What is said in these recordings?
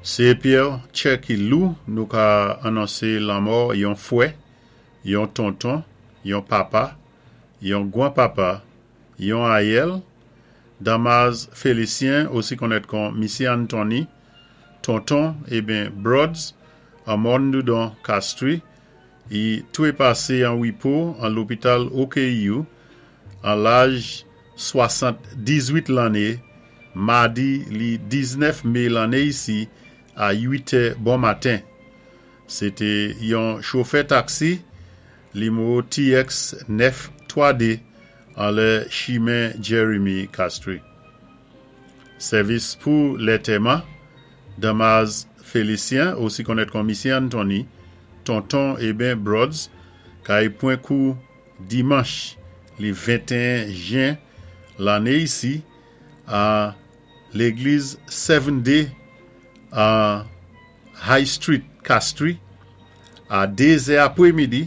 Sé épi tjè ki lou nou ka anonsé lanmò yon fwè, yon tonton, yon papa, yon gwan-papa, yon ayèl, Damas Félicien, osi konnèt kon Misyé Anthony, tonton eben Brods, an Mòn Doudon, Castries, i twépasé an wipo an lopital OKEU an laj 78 lanné, madi li 19 mé lanné isi a 8 è bon maten. Sé té yon chofè taksi nimewo TX 9 3D anlè chimen Jeremy Castries. Sèvis pou lètèman, Damas Félicien, osi konnèt kon Misyé Anthony, tonton eben Brods, kay pwan kou dimanch li 21 jen lanné isi a légliz Seven Day an High Street, Castries, a 2 zè apwémidi.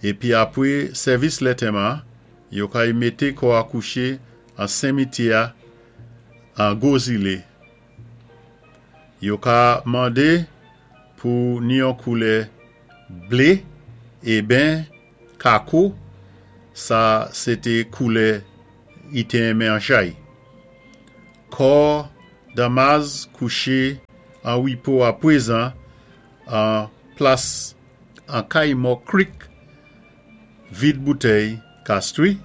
Épi apwé sèvis lètèman, yo kay mété kò a kouché an senmityè an Gwo Zilé. Yo ka mandé pou ni yon koulè blé eben kako, sa sé té koulè i té renmen an chay. Kò Damas kouché an wipo apwézan an plas an Kay Mò Creek, Vid Boutèy, Castries.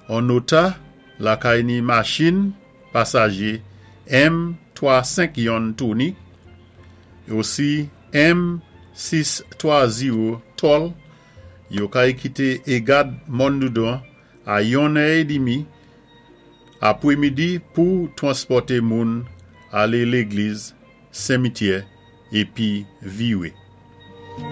On nota lakay ni machin pasajé M 3 5 yonn Tony, osi M 6 3 0 Tòl, yo kay kité Égad Mòn Doudon a yon è édmi apwémidi pou twanspòté moun alé légliz, senmityè épi viwé.